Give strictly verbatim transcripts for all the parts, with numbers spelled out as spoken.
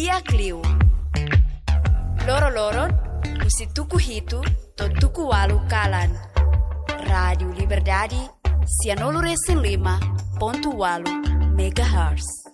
Di'ak liu. Loroloron, husi tuku hitu to'o tuku ualu kalan. Rádiu Liberdade, sianulu-resin-lima pontu ualu megahertz.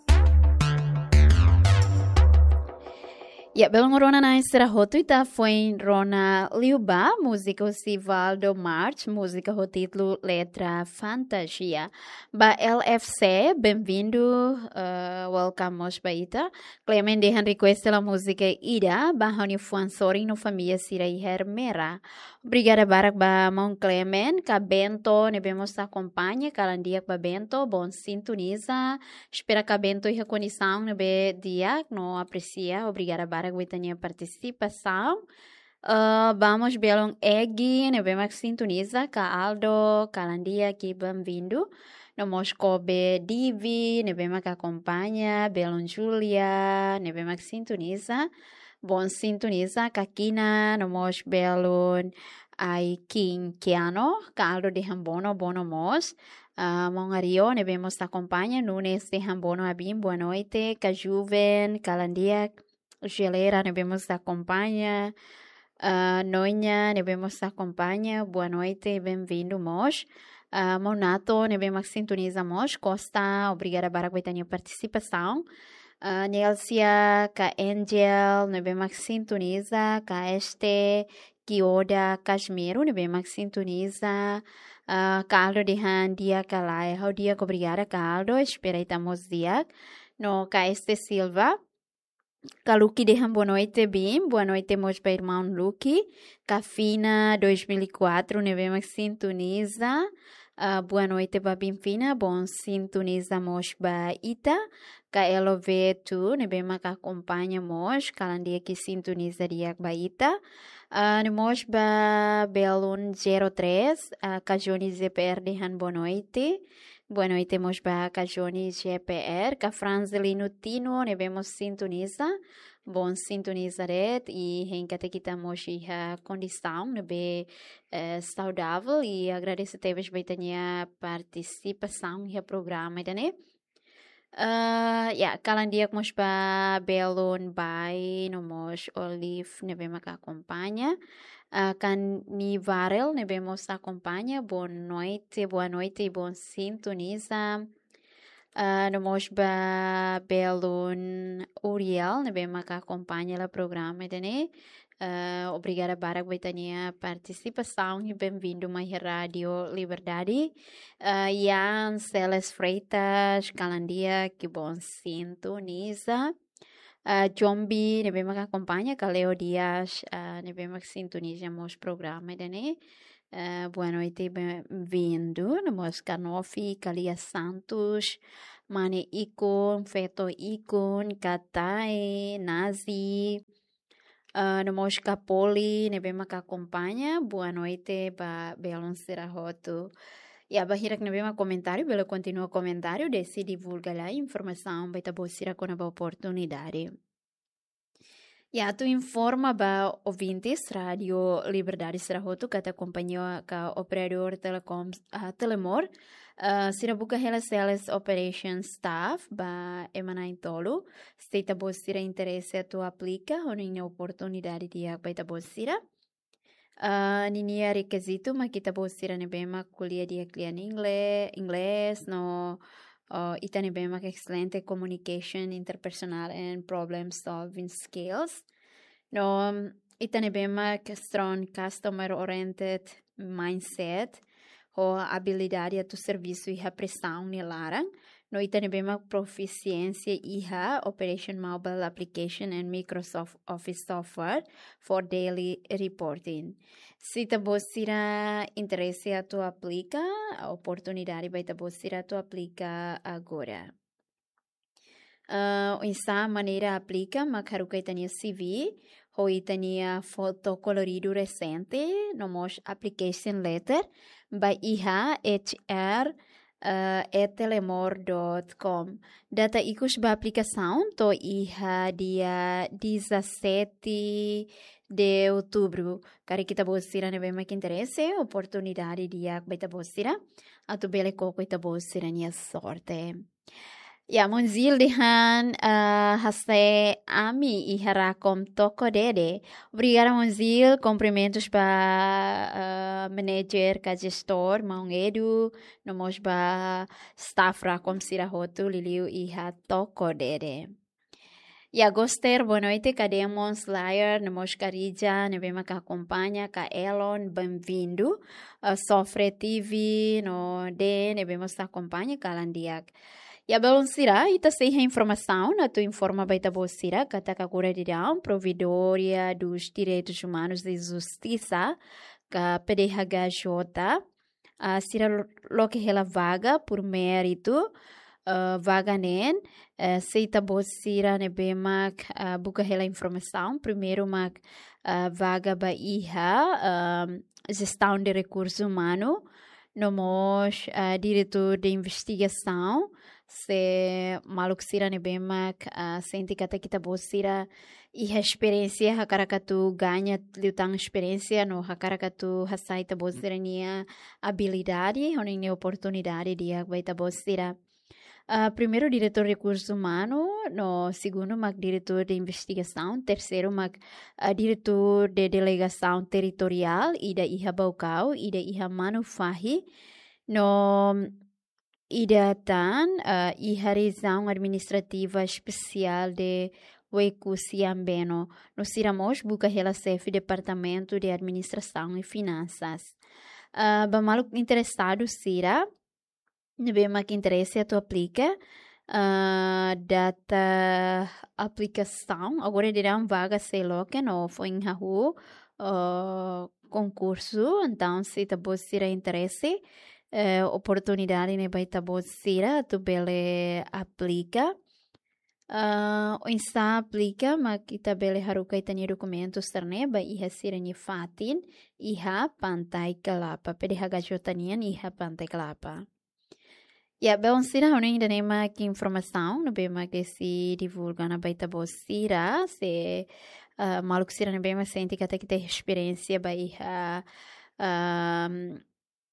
Ya, belun rona na'in sira hotu, ita foin rona liu ba múzika husi Valdo March, múzika ho títulu Letra Fantasia. Ba L F C, bem-vindo, eh, welcome mós ba ita. Clement dehan request hela múzika ida, ba ha'u-nia fuan sorin no família sira iha Ermera. Obrigada barak ba maun Clement, ka Bento, ne'ebé mós akompaña, kalan di'ak ba Bento, bom sintoniza. Espera ka Bento iha kondisaun ne'ebé di'ak, no apresia. Obrigada barak ba ita-nia partisipasaun. Eh, vamos belun Egi, ne'ebé mak sintoniza, ka Aldo, kalan di'ak i bem-vindo. No mós Kobe Divi, ne'ebé mak akompaña, belun Julia, ne'ebé mak sintoniza. Bom sintoniza, ka Kina, no mós belun Ai King Kiano, ka Aldo dehan bono, bono mós. Ah, maun Ario, ne'ebé mós akompaña, Nunes dehan bono abin, boa noite, ka Juven, kalan di'ak, Gelera, ne'ebé mós akompaña, ah, Noña, ne'ebé mós akompaña, boa noite, bem-vindo mós. Ah, maun Nato, ne'ebé mak sintoniza mós, Costa, obrigada barak ba ita-nia partisipasaun. Ah, Nelsia, ka Angel, ne'ebé mak sintoniza, ka Este, Kioda, Casimiro, ne'ebé mak sintoniza, ah, ka Aldo dehan di'ak ka lae, ha'u di'ak, obrigada ka Aldo, espera ita mós di'ak. No ka Este Silva, ka Lucky dehan boa noite, bem, boa noite mós ba irmaun Lucky, ka Fina dois mil e quatro, ne'ebé mak sintoniza, ah, boa noite ba bim Fina, bom sintoniza mós ba ita, ka L V tu, ne'ebé mak akompaña mós, kalan di'ak i sintoniza di'ak ba ita. Ah, no mós ba belun zero três, ah, ka Johnny Z P R dehan boa noite. Boa noite mós ba ka Johnny Z P R, ka Franzelino Tino, ne'ebé mós sintoniza. Bom sintoniza de'it, i hein katak ita mós iha kondisaun ne'ebé, eh, saudável, i agradese tebes ba ita-nia partisipasaun iha programa ida-ne'e. Eh, ya, kalan di'ak mós ba belun Bai, no mós Olive, ne'ebé mak akompaña. Eh, ka Nivarel, ne'ebé mós akompaña, boa noite, boa noite, bom sintoniza. Eh, no mós ba belun Uriel, ne'ebé mak akompaña hela programa ida-ne'e. Eh, obrigada barak ba ita-nia partisipasaun i bem-vindo mai Rádiu Liberdade. Eh, Ian Celes Freitas, kalan di'ak, bom sintoniza. Eh, Jombi, ne'ebé mak akompaña, ka Leo Dias, eh, ne'ebé mak sintoniza mós programa ida-ne'e. Eh, boa noite, bem-vindo. No mós ka Nofi, ka Lia Santos, Mane Ikun, Feto Ikun, ka Tai, Nazi, ah, no mós ka Poli, ne'ebé mak akompaña, boa noite ba belun sira hotu. Ya, ba hirak ne'ebé mak komentáriu, bele kontinua komentáriu, desi divulga lai informasaun ba ita-boot sira kona-ba oportunidade. Ya, atu informa ba ouvintes Rádiu Liberdade sira hotu katak kompañia ka operadór Telecom, ah, Telemor, ah, sira buka hela sales operation staff ba ema na'in-tolu. Se ita-boot sira interese atu aplika, ho ninia oportunidade di'ak ba ita-boot sira. Ah, ninia rekizitu mak ita-boot sira ne'ebé mak ko'alia di'ak lian ingle-, inglés, no, oh, ita ne'ebé mak excelente communication interpersonal and problem solving skills. No, ita ne'ebé mak strong customer oriented mindset, ho abilidade atu servisu iha presaun nia laran. No ita ne'ebé mak profisiénsia iha Operation Mobile Application and Microsoft Office Software for daily reporting. Se ita-boot sira interese atu aplika, oportunidade ba ita-boot sira atu aplika agora. Ah, oinsá maneira aplika, mak haruka ita-nia C V, ho ita-nia foto koloridu resente, no mós application letter, ba iha H R, ah, at telemor dot com. Data ikus ba aplikasaun to'o iha dia dezassete de outubro. Karik ita-boot sira ne'ebé mak interese, oportunidade di'ak ba ita-boot sira, atu bele koko ita-boot sira-nia sorte. Ya, Monzil dehan, ah, hasai ami iha Rakom Toko Dede. Obrigada, Monzil. Kumprimentus ba, ah, manager ka gestór, maun Edu, no mós ba staff Rakom sira hotu liuliu iha Toko Dede. Ya, Goster, boa noite, Kademons, Layer, no mós Karija, ne'ebé mak akompaña, ka Elon, bem-vindo. Ah, Sofre T V, no de, ne'ebé mós akompaña, kalan di'ak. Ya, belun sira, ita sei iha informasaun atu informa ba ita-boot sira katak agora daudaun Provedória dos Direitos Humanos e Justiça, ka P D H J, ah, sira lo-, loke hela vaga por mérito, ah, vaga ne'e, eh, se ita-boot sira ne'ebé mak, ah, buka hela informasaun, primeiru mak, ah, vaga ba iha, ah, Gestão de Recurso Humano, no mós, ah, Diretór de Investigasaun, se maluk sira ne'ebé mak, ah, sente katak ita-boot sira iha esperiénsia, hakarak atu gaña liután esperiénsia, no hakarak atu hasai ita-boot sira-nia abilidade, hodi iha oportunidade di'ak ba ita-boot sira. Ah, primeiru, Diretór Rekursu Umanu, no segundu mak Diretór de Investigasaun, terseiru mak, ah, Diretór de Delegasaun Territoriál, ida iha Baucau, ida iha Manufahi, no ida tan, ah, iha Rejiaun Administrativa Espesiál de Oekusi Ambeno, no sira mós buka hela xefe Departamentu de Administrasaun i Finansas. Ah, ba maluk interesadu sira ne'ebé mak interese atu aplika, ah, data aplikasaun, agora daudaun vaga sei loke no foin hahú, ah, konkursu, entaun se ita-boot sira interese, eh, oportunidade ne'e ba ita-boot sira atu bele aplika. Ah, oinsá aplika, mak ita bele haruka ita-nia dokumentu sira-ne'e ba iha sira-nia fatin, iha Pantai Kelapa, P D H J nian iha Pantai Kelapa. Ya, belun sira, ha'u hanoin ida-ne'e mak informasaun ne'ebé mak sei divulga ona ba ita-boot sira, se, ah, maluk sira ne'ebé mak sente katak ita iha esperiénsia ba iha, ah,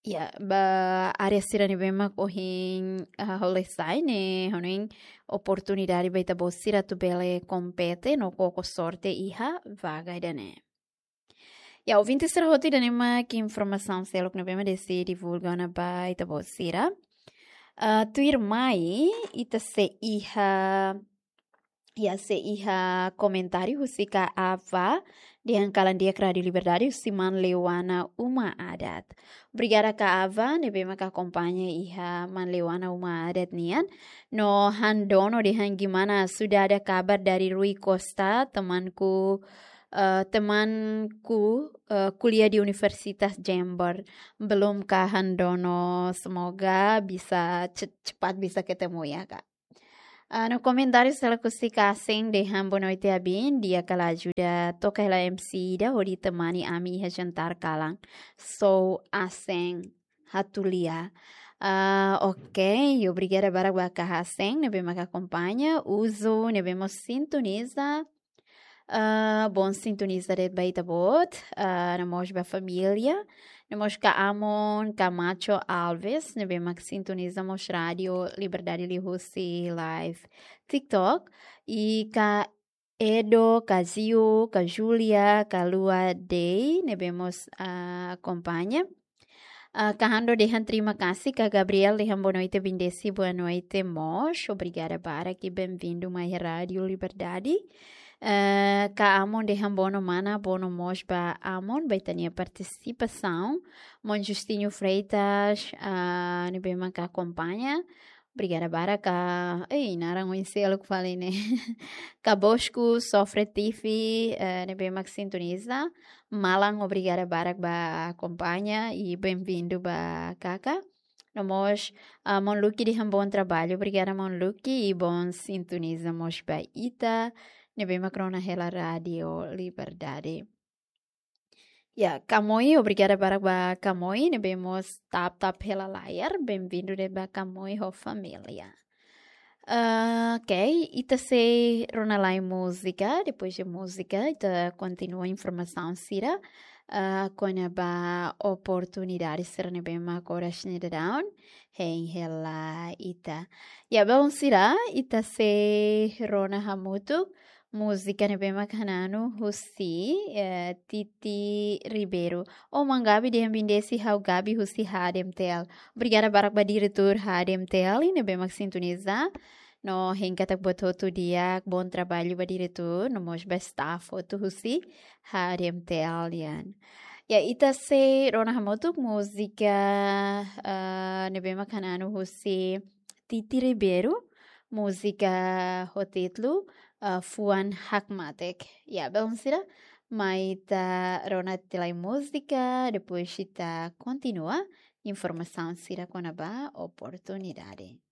ya, ba área sira ne'ebé mak ohin, ah, ha'u hasai ne'e, ha'u hanoin oportunidade ba ita-boot sira atu bele kompete no koko sorte iha vaga ida-ne'e. Ya, ouvinte sira hotu, ida-ne'e mak informasaun seluk ne'ebé mak Desi divulga ona ba ita-boot sira. Ah, tuirmai, ita sei iha, ya, sei iha komentáriu husi Ka Ava, dehan kalan di'ak Rádio Liberdade, husi Maun Leuana Uma Adat. Obrigada Ka Ava, ne'ebé mak akompaña iha Maun Leuana Uma Adat nian. No Handono dehan gimana, sudah ada kabar dari Rui Costa, temanku, eh, temanku, eh, kuliah di Universitas Jember. Belum Ka Handono, semoga bisa ce-, cepat bisa ketemu ya, Kak. Ah, no komentáriu seluk husi Ka Aseng dehan boa noite Abin, di'ak kala ajuda toka hela M C ida hodi temani ami iha jantar kalan. Sou Aseng Hatulia. Ah, ok, obrigada barak ba Ka Aseng ne'ebé mak akompaña, Uzo ne'ebé mós sintoniza. Ah, bom sintoniza de'it ba ita-boot, ah, no mós ba família, no mós Ka Amon, Ka Macho Alves, ne'ebé mak sintoniza mós Rádio Liberdade liuhusi live TikTok, i Ka Edo, Ka Ziu, Ka Julia, Ka Lua Dei, ne'ebé mós, ah, akompaña. Ah, Ka Hando dehan terima kasih, Ka Gabriel dehan boa noite Abin Desi, boa noite mós, obrigada barak i bem-vindo mai Rádio Liberdade. Eh, Ka Amon dehan boa no mana, boa no mós ba Amon, ba ita-nia partisipasaun. Maun Justino Freitas, ah, ne'ebé mak akompaña. Obrigada barak Ka, ei, naran oin seluk fali ne'e. Ka Bosco, Sofre T V, eh, ne'ebé mak sintoniza. Malan, obrigada barak ba akompaña i bem-vindo ba Kaka. No mós, ah, Maun Lucky dehan bom trabalho. Obrigada Maun Lucky i bom sintoniza mós ba ita ne'ebé mak rona hela Rádio Liberdade. Ya, Ka Moi, obrigada barak ba Ka Moi, ne'ebé mós tap-tap hela layar, bem-vindo de'it ba Ka Moi ho família. Ah, ok, ita sei rona lai múzika, depois de múzika, ita kontinua informasaun sira, ah, kona-ba oportunidade sira ne'ebé mak oras ne'e daudaun, hein hela ita. Ya, belun sira, ita sei rona hamutuk múzika ne'ebé mak Hananu husi, eh, Titi Ribeiro. Oh, maun Gabi dehan bendisi, ha'u Gabi husi H D M T L. Obrigada barak ba diretór H D M T L ne'ebé mak sintoniza. No hein katak buat hotu di'ak, bom trabalho ba diretór, no mós ba staff hotu husi H D M T L nian. Ya, ita sei rona hamutuk múzika, eh, ne'ebé mak Hananu husi Titi Ribeiro, múzika ho títulu, eh, Fuan Hakmatek. Ya, belun sira, mai ita rona tiha lai múzika, depois ita kontinua informasaun sira kona-ba oportunidade.